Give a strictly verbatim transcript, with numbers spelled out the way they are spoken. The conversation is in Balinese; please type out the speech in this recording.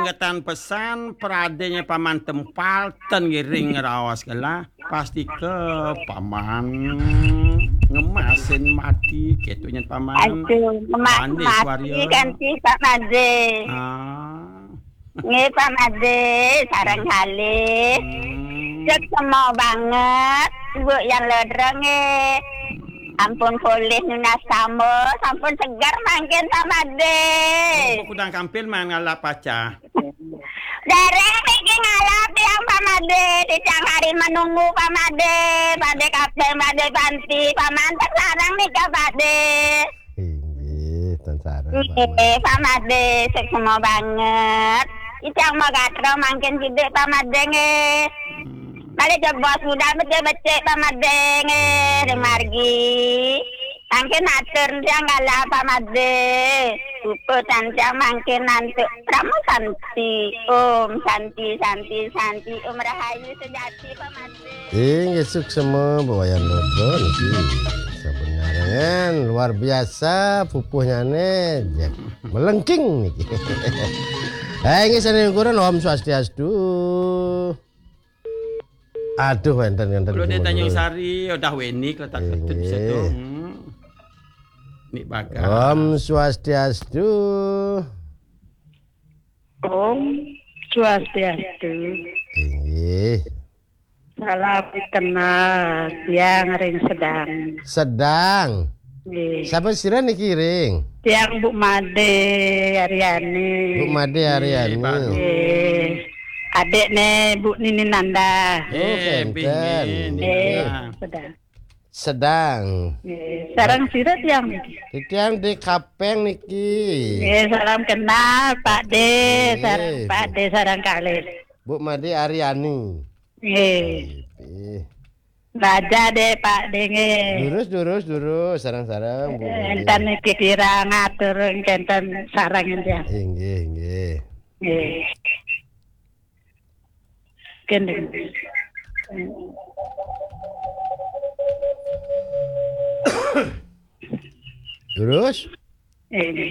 Ketan pesan pradénya Paman Tempal ten ngiring ngraos gelah, pasti ke Paman ngemasin mati kéto nyen Paman. Aduh, emas Pandé mati Suaryo. Kan si Pak Madé. Ah. Nggih, Pak Madé, sareng kalih. Hmm. Cek semua banget, Bu Yang Lodro nggih. Ampun polih nunas tamba, sampun seger mangkin Pak Madé. Oh, kudang kampil man ngalap pacah. Dereng niki ngalap tiang Pak Madé, tiang hari menunggu Pak Madé, Pak Madé Kapten, Pak Madé Panti, Pak Manten sareng nika Pak Madé. Inggih, ten sareng Pak Madé. Nggih, Pak Madé, sik semua banget. Tiang mau gatra mangkin sidik Pak Madé nggih. Hmm. Balik jebos udah becik-becik Pak Madé nggih, ring margi. Mangkin atur tiang galah Pak Madé. Puputan tiang mangkin nantuk Pramu Santi. Om Santi, Santi, Santi. Om Rahayu sejati Pak Madé. Inggih suksema Mbok Wayan Lodro niki. Saben ngarangan luar biasa pupuhnyane. Ya, melengking niki. Eh, inggih sané ukuran Om Swastiastu. Aduh, wénten, wénten. Kalau di Tanjung Sari, udah wenik lah tak ketut bisa tuh. Hmm. Nik bakal. Om Swastiastu. Om Swastiastu. Inggih. Salam kenal, tiang ring Sedang. Sedang. Nggih. Sapa sira niki ring? Tiang Bu Made Aryani. Bu Made Aryani. Nggih, bagus. Nggih. Adikne Bu Nini Nanda. Oh, eh, kenten. Nggih, Nini Nanda. Sedang. Sedang. Nggih, sareng sira tiang niki? Tiang di Kapeng niki. Nggih, salam kenal, Pak De. Nggih. Sareng Pak De, sareng kalih. Bu Made Aryani. Nggih. Nggih. Raja deh, Pak De, nggih. Durus, durus, durus, sareng-sareng, Bu. Enten niki kirang atur, kenten sareng, ya. Inggih, inggih. Nggih. Kenten. Durus? Eh,